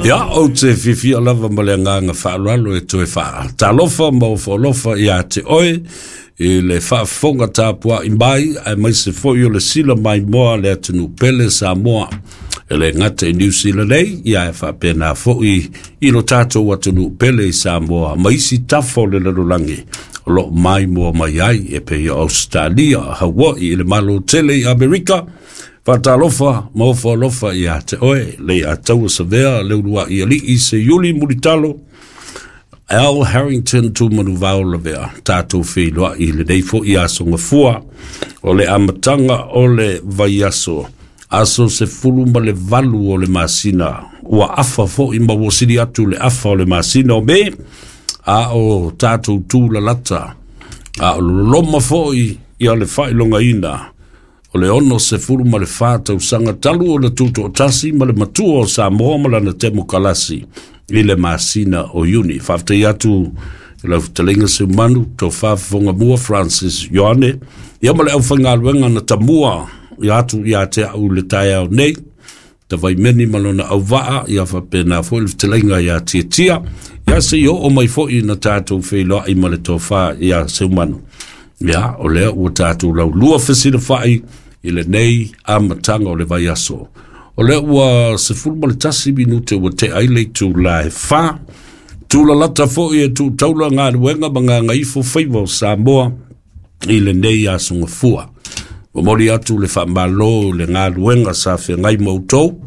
Ia, ou te fiafia lava ma le agaga faaaloalo e toe faatalofa ma ofoalofa ia te oe i le faafofoga tapuai mai, aemaise foi o le sila maimoa a le atunuu pele Samoa. E le gata i Niu Sila nei, ia e faapena foi i lo tatou atunuu pele i Samoa ma isi tafa o le lalolagi o lo o maimoa mai ai, e pei o Ausetalia, Hawaii, i le Malo tele i Amerika. Faatalofa ma ofo alofa ia te oe, Leiataua Savea, le uluai alii Seiuli Mulitalo, Al Harrington Tumanuvao Lavea, tatou feiloai i lenei foi aso gafua, o le amataga o le vaiaso, aso 18 o le masina, ua afa foi ma ua sili atu le afa o le masina o Me, a o tatou tūlalata, a o loloma foi ia le faailogaina o le 64 tausaga talu ona tutoatasi ma le matua o Samoa ma lana temokalasi i le masina o Iuni. Faafetai atu i lau fetalaiga Seumanu, Tofa Fofogamua Francis Ioane, ia ma le aufaigaluega na tamua ia atu ia te au i le taeao nei, Tavaimeni ma lona auvaa, ia faapena foi le fetalaiga ia Tiatia, ia se i oo mai foi na tatou feiloai ma le tofa ia Seumanu. Ia, o lea ua tatou laulua fesilafai i lenei amataga o le vaiaso. O lea ua 11 minute ua tea ai le itula e 4. Tulalata foi e tuutaula galuega ma gagaifo faiva o Samoa i lenei aso gafua. Momoli atu le faamalo i le galuega sa feagai ma outou,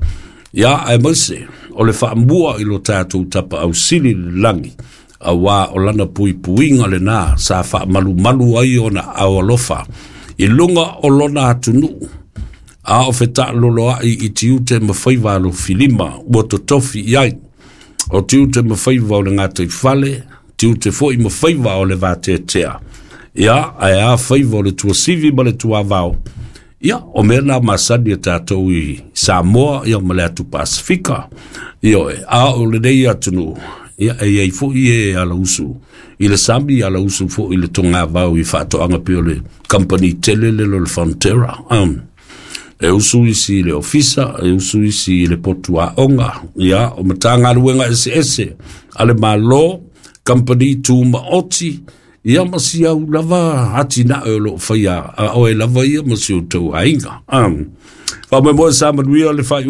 ia aemaise o le faamua i lo tatou tapaau sili i le lagi, auā o lana puipuiga lenā sa faamalumalu ai ona ao alofa i luga o lona atunuu, a o fetaaloloai i tiute ma faiva alofilima ua totofi i ai. O tiute ma faiva o le gataifale, tiute foi ma faiva o le vateatea, ia ae a faiva o le tuasivi ma le tuavao. Ia, o mea na masani a tatou i Samoa ia ma le atu Pasifika. Ioe, a o lenei atunuu, ia e iai foi e alausu i le sami, alausu foi i le togavao i faatoaga pei o le company tele lele o le Fonterra. E usu isi i le ofisa, e usu isi i le potu aoga, ia, o matagaluega eseese a le Malo, company tumaoti, ia ma si au lava atinae o lo o faia a oe lava ia ma si outou aiga. Faamoemoe sa manuia le faaiuga.